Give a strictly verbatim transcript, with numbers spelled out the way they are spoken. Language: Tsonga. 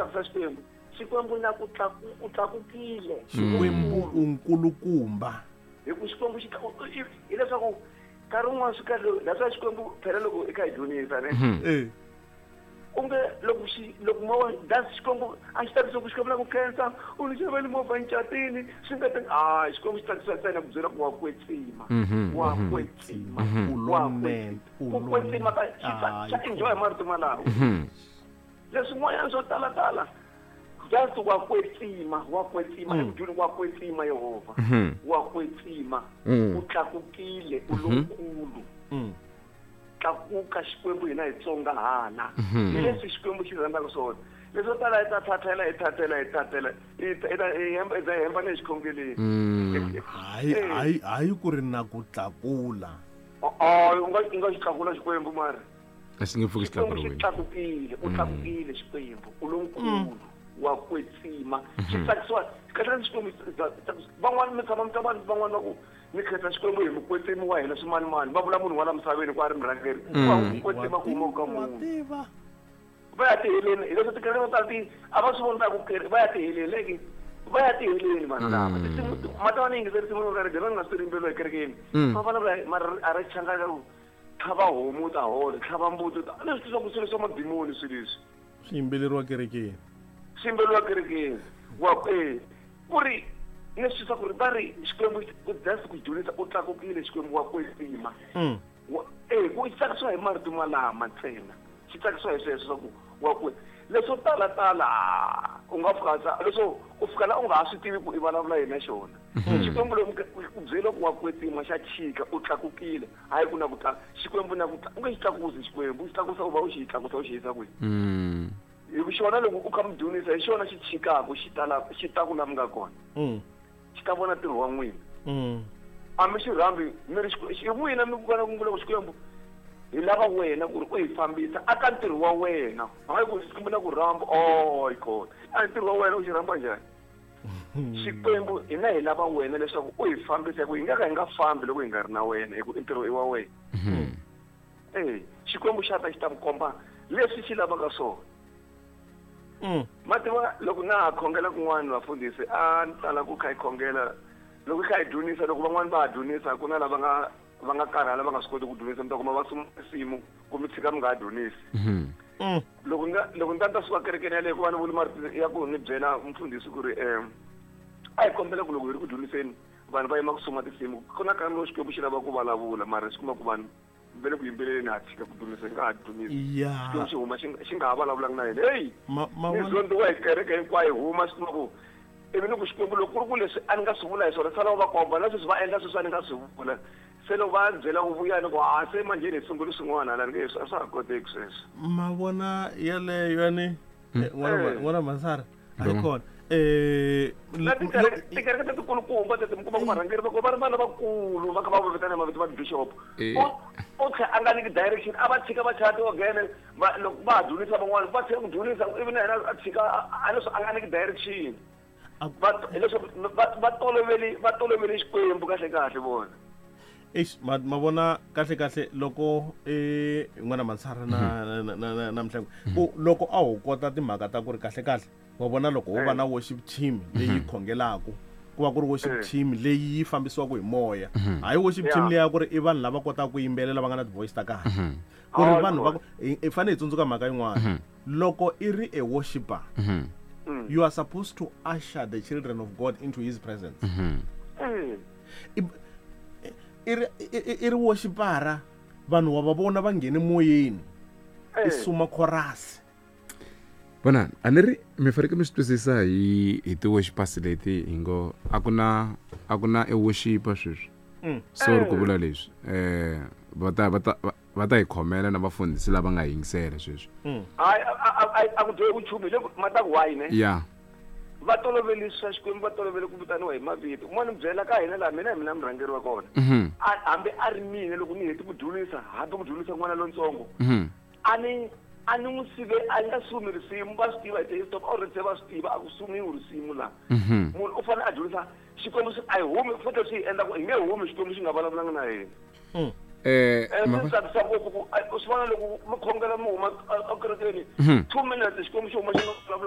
Tsakisa Xikwembu. Xikwembu na ku tlaku u tlakukile. Xikwembu u nkulukumba. Hi ku Xikwembu xi hileswaku nkarhi wun'wana swi kahle, that's why Xikwembu phela loko i kha hi dyondzisa ne, eh u nge loko xi loko mo that's Xikwembu a xi tsakisa ku Xikwembu na ku khensa u ni xavele movha ncatini swi nga ti a Xikwembu xi tsakisa ntsena ku byela ku wa kwetsima, wa kwetsima, U wa lonene, u ku kwetsima ka xi tsa- xa enjoy marito malawo. Leswin'wanyana swo talatala, just wa kwetsima, wa kwetsima evudyoni, wa kwetsima Yehovha, wa kwetsima, u tlakukile, u lonkulu. Mm. Tlakuka Xikwembu, hina hi tsongahana, hi leswi Xikwembu xi rhandzaka swona. Leswo tala hi ta thathela, hi thathela, hi thathela, hi ta- hi ta- hi hemba hi ta hemba na xikhongeleni. Hayi, hayi, hayi ku ri na ku tlakula. U nga u nga xi tlakula Xikwembu mara A xi nge pfuki xi Xikwembu xi tlakuriwile. tlakukile, u tlakukile Xikwembu, u lonkulu, wa kwetsima. Xi tsakisiwa kahle kahle Xikwembu. Van'wani mi tshama mi twa vanhu van'wani va ku ni khensa Xikwembu hi mukwetsimi wa hina swimanimani, va vula munhu wa la misaveni ku a ri murhangeri wa ku kwetsima ku huma ka Wa munhu. Tiva. Va ya tiheleni, hileswo tikereke to tala ti a va swi voni, va ya ku kere va ya tiheleni leki, va ya tiheleni vanhu lava. Tinsimu ma ta va ni yingiseri risimu ro karhi va nga swi rimbeliwa ekerekeni, va vulavula mara a ri changana ku tlhava homu u ta hola, tlhava mbuti u ta leswi swa ku swilo swa madimoni, swilo leswi Swi yimbeleriwa kerekeni. Swi yimbeliwa kerekeni wa e ku ri leswi swa ku ri va ri Xikwembu just ku dyondzisa u tlakukile Xikwembu, wa kwetsima. Mm. Wa- eh ku tsakisiwa hi marito malama ntsena, xi tsakisiwa hi sweswo swa ku wa ku leswo tala tala u nga fika sa leswo u fika la u nga ha swi tivi ku i vulavula yini na xona Xikwembu. Loko u byela ku wa kwetsima, xa chika, u tlakukile, hayi ku na ku tla Xikwembu na ku tla u nge xi tlakusi Xikwembu, u xi tlakusa u va u xi tlakusa u xi yisa kwihi? Mm. Hi ku xona loko u kha mi dyondzisa hi xona xi chikaku, xi tala xi ta ku la mi nga kona, Mm. xi ta vona ntirho wa n'wina. Mm. A mi xi rhambi mi ri Xikwembu- xi n'wina mi vona ku vula ku Xikwembu hi lava wena ku ri u hi fambisa aka ntirho wa wena, hayi ku Xikwembu na ku rhamba oh kona a ntirho wa wena u xi rhamba njhani Xikwembu? Hina hi lava wena leswaku u hi fambisa, hi ku hi nga ka hi nga fambi loko hi nga ri na wena, hi ku i ntirho i wa wena. Eh Xikwembu xa ta xi ta mi komba leswi xi lavaka swona. Mm. Ma tiva loko na ha khongela kun'wana, vafundhisi, a ni tala ku kha hi khongela loko hi kha hi dyondzisa, loko van'wani va ha dyondzisa, ku na lava nga va nga karhala, va nga swi koti ku dyondzisa, mi ta kuma va suma nsimu ku mi tshika mi nga ha dyondzisi. Mhm. Mm. Loko nga loko ni ta ni ta suka kerekeni yaleyo, ku va ni vuli marito ya ku ni byela mufundhisi ku ri um a hi kombela ku loko hi ri ku dyondziseni, vanhu va yima ku suma tinsimu, ku na nkarhi lowu Xikwembu xi lava ku vulavula, mara xi kuma ku vanhu va le ku yimbeleleni, ha tshika ku dyondzisa, hi nga ha dyondzisi. Ya. Xikwembu xi huma xi nga- xi nga ha vulavulanga na hina, heyi. Ma ma Ni vona- zondiwa hi kereke hinkwayo, huma swi kuma ku ivi ni ku Xikwembu loko ku ri ku leswi a ni nga swi vula hi swona, sala va komba na sweswi va endla sweswi a ni nga swi vula, se loko va byela ku vuya ni ku a se manjheni hi sunguli swin'wana hala, ni nge a swa ha koteki sweswo. Ma vona yaleyo yani, eh, n'wana Eh. n'wana Masara hayi kona eh Na tikereke tikereke letikulukumba teti mi kuma ku varhangeri va ko va ri vana vakulu va kha va vitana mavito va bishop, Eh. u u tlhe a nga nyiki direction, a va tshika va chaya tiogene, va loko va ha dyondzisa van'wana va tshika ku dyondzisa, ivi na yena a tshika a- a leswi a nga nyiki direction. A- Va hileswaku va va toloveli va tolovele Xikwembu kahle kahle vona. Eish, ma ma vona kahle kahle loko eh n'wana Mansara na na na na, na Mhlengo ku loko a ho kota timhaka ta ku ri kahle kahle wa vona loko ho va na worship team leyi khongelaku, ku va ku ri worship Eh. team leyi yi fambisiwaka hi moya, hayi worship team Yeah. leyi ya ku ri i vanhu lava kotaka ku yimbelela va nga na ti-voice ta kahle, ku ri Ah, vanhu va ku hi hi fanele hi tsundzuka mhaka yin'wana: loko i ri a worshipper, you are supposed to usher the children of God into his presence. Eh. I i ri i- i- i ri worshipara, vanhu wa va vona va nghene moyeni, i Eh. suma chorus. Vonani, a ni ri mi fanekele mi swi twisisa hi hi ti-worshipers leti hi ngo a ku na a ku na e worshiper sweswi. Mm. Sorry ku vula leswi, eh va ta va ta va- va ta hi khomela na vafundhisi lava nga yingisela sweswi. Hayi, a- a a- a ku dyohi ku nchumu hi le ku ma ta ku why ne Ya. Va tolovele swa Xikwembu, va tolovele ku vitaniwa hi mavito. Un'wana mi byela ka hina laha, mina hi mina murhangeri wa kona. Mhm. A- hambi a ri mina, loko ni heti ku dyondzisa, hambi ku dyondzisa n'wana lontsongo, Mhm. a ni a ni n'wi sive a ni nga sumi risimu, va swi tiva hi ti-stop already, se va swi tiva a ku sumiwi risimu laha. Mhm. Munhu u fanele a dyondzisa Xikwembu xi- a hi humi futhi swi hi endla ku hi nge humi Xikwembu xi nga vulavulanga na hina. Eh Eh, ma- swi tsakisa ngopfu ku a- u swi vona loko mi khongela mi huma ekerekeni, two minutes Xikwembu xi huma xi nga vulavula.